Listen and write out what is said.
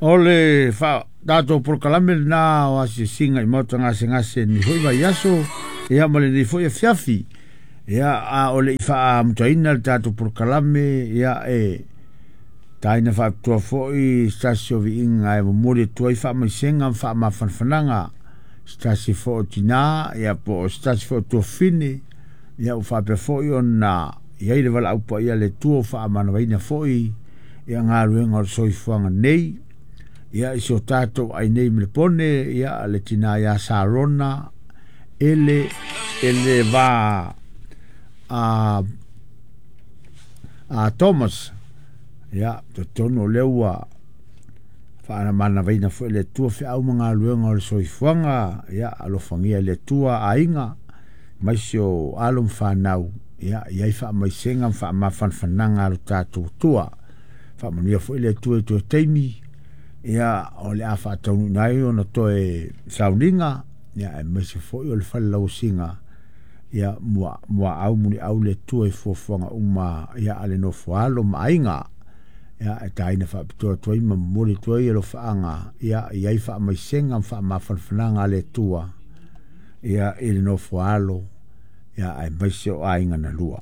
O le tatou polokalame lena o asiasiga i maota gasegase i lenei foi vaiaso, ia ma lenei foi afiafi. Ia, a o le i faaamutaina le tatou polokalame, ia e taina faapitoa foi se tasi o viiga e momoli atu ai faamaisega ma faamafanafanaga se tasi foi o tinā, ia po o se tasi foi o tuafafine, ia ua faapea foi ona i ai le valaau paia a le Atua ua faamanavaina foi ia galuega o le soifuaga nei. Ia i si o tatou ai nei ma le pone, ia le tinā ia Sarona ele ele va a a Thomas. Ia totonu o lea ua faamanavaina foi le Atua feau ma galuega o le soifuaga, ia alofagia e le Atua aiga maisi o alo ma fanau, ia i ai faamaisega ma faamafanafanaga a lo tatou Atua. Faamanuia foi le Atua i toe taimi, ia o le a faataunuuina ai ona toe sauniga, ia aemaise foi o le fale lauasiga, ia muaau muliau le Atua i fuafuaga uma, ia a le nofo alo ma aiga. Ia e taina faapitoa atu ai ma momoli atu ai alofaaga, ia i ai faamaisega ma faamafanafanaga a le Atua, ia i le nofo alo, ia aemaise o aiga na lua.